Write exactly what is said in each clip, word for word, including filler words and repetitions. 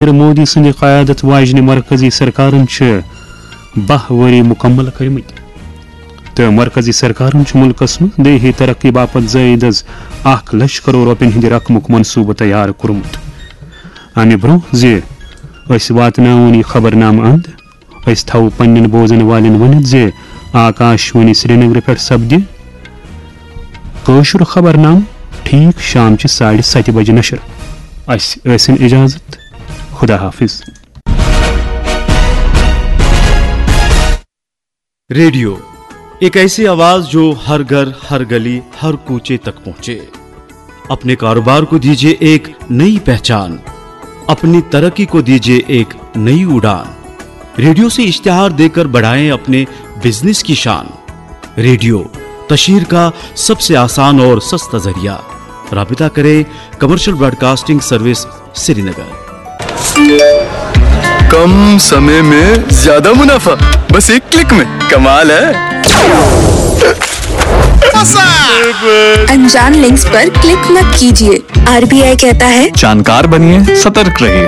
نریندر مودی سٕنٛدِ قیادت واجنہِ مرکزی سرکارن چھِ باہ ؤری مکمل کٔرمٕتۍ تہٕ مرکزی سرکارن چھُ مُلکس منٛز دیہی ترقی باپتھ زٲیِد از اکھ لچھ کرور رۄپین ہٕنٛدِ رقمُک منصوٗبہٕ تیار کوٚرمُت۔ امہِ برٛونٛہہ زِ أسۍ واتناوون یہِ خبرنامہٕ اند، أسۍ تھاوو پننٮ۪ن بوزن والٮ۪ن ؤنِتھ زِ آکاش وانی سرینگرٕ پٮ۪ٹھ سپدِ کٲشُر خبرنامہٕ ٹھیٖک شامچہِ ساڑِ ستہِ بجہِ نشر۔ اسہِ ٲسِن اجازت۔ خدا حافظ۔ ریڈیو، ایک ایسی آواز جو ہر گھر، ہر گلی، ہر کوچے تک پہنچے۔ اپنے کاروبار کو دیجیے ایک نئی پہچان، اپنی ترقی کو دیجیے ایک نئی اڑان۔ ریڈیو سے اشتہار دیکر بڑھائیں اپنے بزنس کی شان۔ ریڈیو، تشہیر کا سب سے آسان اور سستا ذریعہ۔ رابطہ کریں کمرشل براڈکاسٹنگ سروس، سرینگر۔ कम समय में ज्यादा मुनाफा, बस एक क्लिक में। कमाल है। अनजान लिंक्स पर क्लिक मत कीजिए। आरबीआई कहता है, जानकार बनिए, सतर्क रहिए।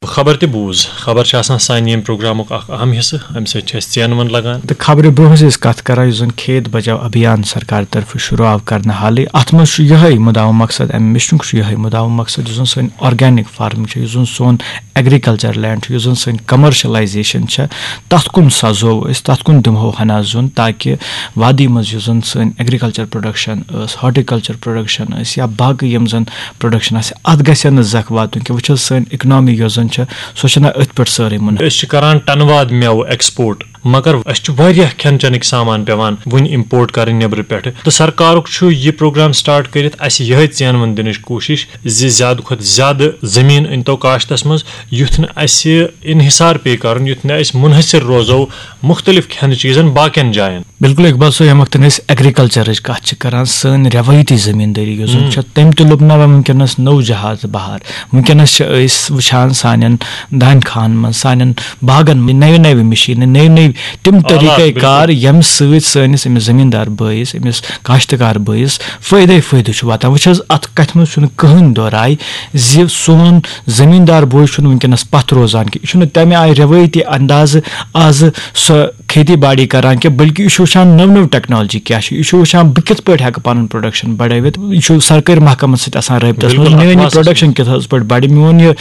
خبر تہِ بوٗز۔ خبر چھِ آسان سانہِ ییٚمہِ پروگرامُک اکھ اہم حصہٕ، اَمہِ سۭتۍ چھِ اَسہِ ژینہٕ وَن لگان۔ تہٕ خبرِ برونٛہہ ٲسۍ أسۍ کتھ کران یُس زن کھیت بچاو ابھیان سرکار طرفہٕ شروع آو کرنہٕ حالٕے، اتھ منٛز چھُ یِہے مُدعا مقصد، امہِ مِشنُک چھُ یِہے مُدعا مقصد یُس زن سٲنۍ آرگینک فارمنگ چھِ، یُس زن سون ایگریکلچر لینڈ چھُ، یُس زن سٲنۍ کمرشلائزیشن چھِ، تتھ کُن سزو أسۍ، تتھ کُن دِمہو ہنا زیُن، تاکہِ وادی منٛز یُس زن سٲنۍ ایگریکلچر پروڈکشن ٲس، ہارٹیکلچر پروڈکشن ٲسۍ یا باقٕے یِم زن پروڈکشن آسہِ، اتھ گژھِ نہٕ زکھ واتُن کینٛہہ۔ وٕچھ حظ، سٲنۍ اکنامی یۄس زن چھِ، سۄ چھنہٕ أتھۍ پٮ۪ٹھ سٲرٕے منحصر۔ أسۍ چھِ کران ٹنہٕ واد مٮ۪وٕ ایکسپورٹ، مگر اَسہِ چھُ واریاہ کھٮ۪ن چٮ۪نٕکۍ سامان پٮ۪وان وٕنہِ امپورٹ کرٕنۍ نیٚبرٕ پٮ۪ٹھٕ۔ تہٕ سرکارُک چھُ یہِ پروگرام سٹارٹ کٔرِتھ اَسہِ یِہوٚے ژینہٕ وَن دِنٕچ کوٗشِش زِ زیادٕ کھۄتہٕ زیادٕ زٔمیٖن أنۍتو کاشتَس منٛز، یُتھ نہٕ اَسہِ انحصار پیٚیہِ کرُن، یُتھ نہٕ أسۍ منحصر روزو مُختٔلِف کھٮ۪نہٕ چیٖزن باقین جاین۔ بِلکُل اقبال صٲب، ییٚمہِ وقتہٕ أسۍ ایگریکلچرٕچ کتھ چھِ کران، سٲنۍ رٮ۪وٲیتی زٔمیٖندٲری یۄس زن چھےٚ، تٔمۍ تہِ لوٚب نہ وۄنۍ وٕنکیٚنس نوٚو جہاز بہار۔ وٕنکیٚنس چھِ أسۍ وٕچھان سانٮ۪ن دانہِ کھاہن منٛز، سانٮ۪ن باغن منٛز نٔوۍ نٔوۍ مِشیٖنہٕ، نٔوۍ نٔوۍ تِم طٔریٖقے کار، ییٚمہِ سۭتۍ سٲنِس أمِس زٔمیٖندار بٲیِس، أمِس کاشتکار بٲیِس فٲیدَے فٲیدٕ چھُ واتان۔ وٕچھ حظ، اَتھ کَتھِ منٛز چھُنہٕ کٕہٕنۍ دۄہ راے زِ سون زٔمیٖندار بوے چھُنہٕ وٕنکیٚنَس پَتھ روزان کینٛہہ۔ یہِ چھُنہٕ تَمہِ آیہِ رٮ۪وٲیتی اندازٕ آزٕ سۄ کھیتی باڑی کران کینٛہہ، بلکہِ یہِ چھُ وٕچھان نٔو نٔو ٹیکنالجی کیٛاہ چھِ، یہِ چھُ وٕچھان بہٕ کِتھ پٲٹھۍ ہٮ۪کہٕ پَنُن پروڈکشن بڑٲوِتھ۔ یہِ چھُ سرکٲرۍ محکمن سۭتۍ آسان رٲبطس منٛز، میٲنۍ یہِ پروڈکشن کِتھ حظ پٲٹھۍ بڑِ، میون یہِ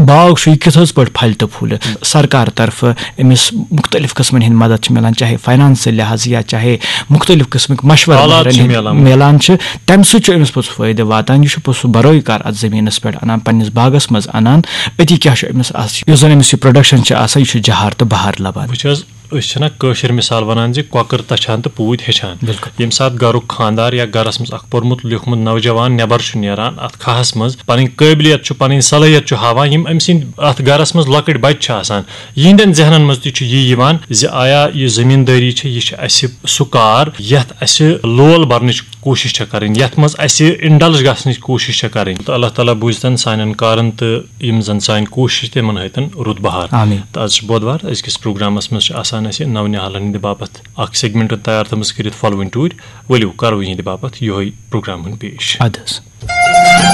باغ چھُ، یہِ کِتھ حظ پٲٹھۍ پھلہِ تہٕ پھوٗلہِ۔ سرکار طرفہٕ أمِس مُختٔلِف قٕسمَن ہِنٛدۍ مدد چھِ مِلان، چاہے فاینانسہٕ لحاظہٕ یا چاہے مُختٔلِف قٕسمٕکۍ مشورٕ آلات چھِ مِلان۔ مِلان چھِ، تَمہِ سۭتۍ چھُ أمِس پوٚتُس فٲیدٕ واتان۔ یہِ چھُ پوٚتُس سُہ بروے کار اَتھ زٔمیٖنَس پٮ۪ٹھ اَنان، پنٛنِس باغَس منٛز اَنان، أتی کیٛاہ چھُ أمِس اَتھ، یُس زَن أمِس یہِ پروڈَکشَن چھِ آسان، یہِ چھُ جہار تہٕ بہار لَبان۔ وٕچھ حظ، أسۍ چھِنہ کٲشِر مِثال وَنان زِ کۄکٕر تَچھان تہٕ پوٗتۍ ہیٚچھان۔ بِلکُل۔ ییٚمہِ ساتہٕ گَرُک خانٛدار یا گَرَس منٛز اَکھ پوٚرمُت لیوٗکھمُت نوجوان نٮ۪بَر چھُ نیران اَتھ کھاہَس منٛز، پَنٕنۍ قٲبلیت چھُ، پَنٕنۍ صلٲحیت چھُ ہاوان، یِم أمۍ سٕنٛدۍ اَتھ گَرَس منٛز لۄکٕٹۍ بَچہِ چھِ آسان، یِہِنٛدٮ۪ن ذہنَن منٛز تہِ چھُ یی یِوان زِ آیا یہِ زٔمیٖندٲری چھِ، یہِ چھِ اَسہِ سُہ کار یَتھ اَسہِ لول بَرنٕچ کوٗشِش چھےٚ کَرٕنۍ، یَتھ منٛز اَسہِ انڈلج گژھنٕچ کوٗشِش چھےٚ کَرٕنۍ۔ تہٕ اللہ تعالیٰ بوٗزتَن سانٮ۪ن کارَن تہٕ یِم زَن سانہِ کوٗشِش تِمَن ہٲتَن رُت بہار۔ آمین۔ تہٕ آز چھِ بۄدوار، أزکِس پروگرامَس منٛز چھِ آسان اَسہِ نَو نِہالَن ہِنٛدِ باپَتھ اَکھ سیگمنٹ تیار تھٲومٕژ کٔرِتھ فالوٕنۍ ٹوٗرۍ۔ ؤلِو کَرو یِہِنٛدِ باپَتھ یِہوٚے پروگرام ہُنٛد پیش۔ اَدٕ حظ۔